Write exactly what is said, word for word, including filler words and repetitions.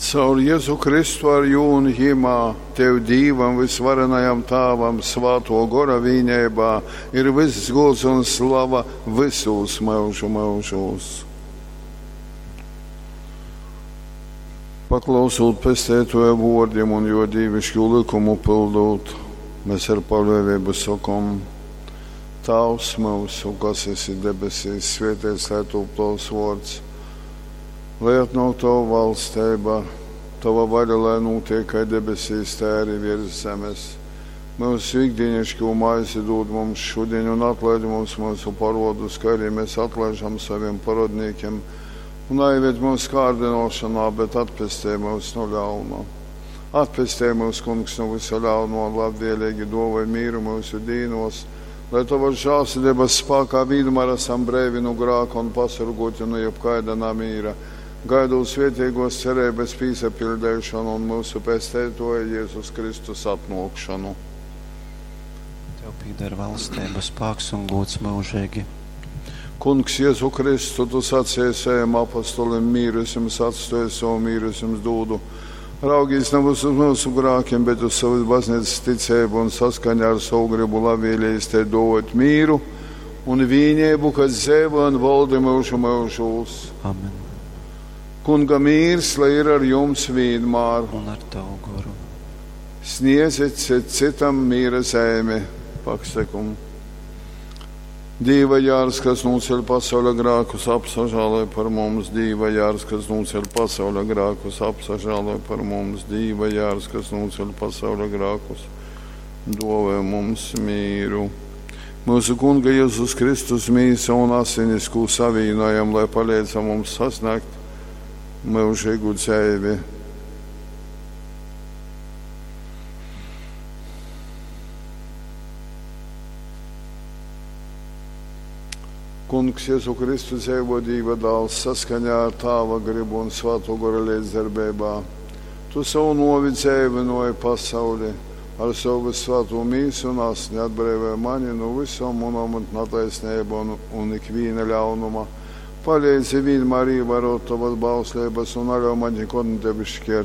Caur Jezu Kristu ar jū un jimā, Tev Dīvam vysvarenajam Tāvam, Svātō Gora vīneibā ir vyss gūds un slava vysūs myužu myužūs. Paklausūt Pesteitōja vōrdim un jō dīviškū lykumu pyldūt, mēs ar paļōveibu sokom: Tāvs myusu, kas esi debesīs, svēteits lai tūp tovs vōrds. Lai atnōk tova valsteiba, tova vaļa, lai nūtiek kai debesīs, tai arī virs zemes. Myusu ikdienišķo maizi dūd mums šodien un atlaid mums mūsu parodus, kā arī mēs atlaižam saviem parodnīkiem. Un naieved mūsu kārdinošanā, bet atpestī mūs no ļauna. Atpestī mūs, Kungs, no visa ļauno un labvēlīgi dāvāj mīru mūsu dīnos, lai tavas žēlsirdības spēkā vienmēr esam breivi no grāka un pasargoti no jebkaida namīra, gaidot svētīgos cerības pīsapildīšanu un mūsu pesteitoja Jēzus Kristus atnākšanu. Tev pieder valstība, spēks un gods mūžīgi. Kungs, Jēzu Kristu, tu sacīji saviem apostolim, mīru es jums atstāju, savu mīru es jums dodu. Raugīs nevis uz mūsu grākiem, bet uz savas baznīcas ticību un saskaņā ar savu gribu labvēlījis te dot mīru un vīnību, kas dzīvo un valda mūžu mūžos. Amen. Kunga mīrs, lai ir ar jums vienmēr. Un ar tavu goru. Sniedziet cit citam mīra zemi. Pakstekumu. Dīva jārs, kas nūceļ pasauļa grākus, apsažāloj par mums. Dīva jārs, kas nūceļ pasauļa grākus, apsažāloj par mums. Dīva jārs, kas nūceļ pasauļa grākus, dāvā mums mīru. Mūsu Kunga Jēzus Kristus mīsa un asinis, ko savīnojam, lai palīdz mums sasniegt mūžīgu dzīvi. Kungs Jēzu Kristu dzīvo Dieva dēls saskaņā ar Tāva gribu un Svēto Gora līdzdarbībā. Tu savu novi dzīvinoji pasauli ar savu svēto mīsu un asni atbrīvoji mani no visām manām netaisnībām un, un ikviena ļaunuma. Palīdzi vienmēr ievērot tavas bauslības un neļauj man nekad tevi šķirt.